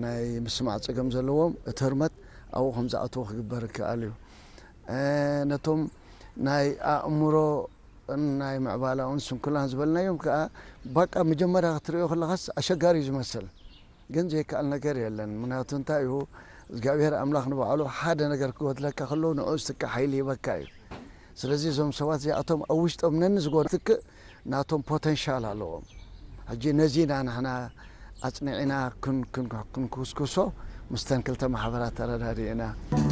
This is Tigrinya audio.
ናይ ምስማዕ ጸገም ዘለዎም እቲ ህርመት ኣብኡ ከም ዝኣትዎ ክግበር ይከኣል እዩ። ነቶም ናይ ኣእምሮ ናይ ምዕባላውን ስንኩላን ዝበልናዮም ከዓ ባቃ መጀመርያ ክትሪኦ ከለኻስ ኣሸጋሪ እዩ ዝመስል፣ ግን ዘይከኣል ነገር የለን። ምክንያቱ እንታይ እዩ እግዚኣብሔር ኣምላኽ ንባዕሉ ሓደ ነገር ክጎድለካ ከሎ ንዑ ዝትክእ ሓይሊ ይበካ እዩ። ስለዚ እዞም ሰባት እዚኣቶም ኣብ ውሽጦም ነኒ ዝጎድልትክእ ናቶም ፖተንሻል ኣለዎም። ሕጂ ነዚ ኢና ንሕና ኣጽኒዕና ክንኩስኩሶ ምስተን ክልተ ማሕበራት ተረዳዲእና።